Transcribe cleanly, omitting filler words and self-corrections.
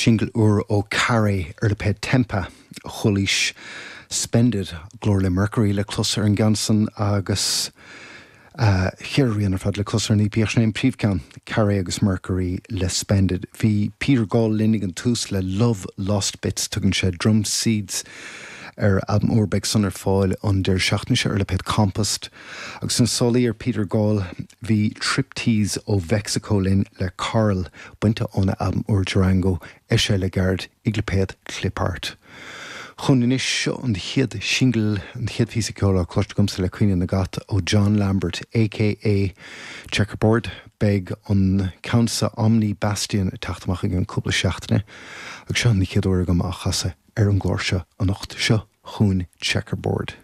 Singil úr ó Carré ar lipéad Tempa. Chualaís Spend It, glór le Mercury le clos ar an gceann san agus cheithre rian ar fad le clos ar an EP ach sin é an príomhcheann, Carré agus Mercury le Spend It. Bhí Peter Gall linn ag an tús le Love Lost Bits, tugann sé Drum Seeds ar a albam úr, beidh san ar fáil an deireadh seachtaine seo ar lipéad Compost. Agus sna sálaí ar Peter Gall bhí Triptease ó Mheicsiceo linn le Coral, bainte óna albam úr Durango, eisithe le gairid ag lipéad Clipart. Chugainn anois, seo an chéad singil, an chéad phíosa ceoil á cloiste agamsa le Caoineadh na gCat ó John Lambert aka Checkerboard. Beidh an ceann seo Omni Bastion ag teacht amach i gceann cúpla seachtaine agus seo an chéad uair agam á chasadh ar an gclár seo anocht. Seo chugainn Checkerboard.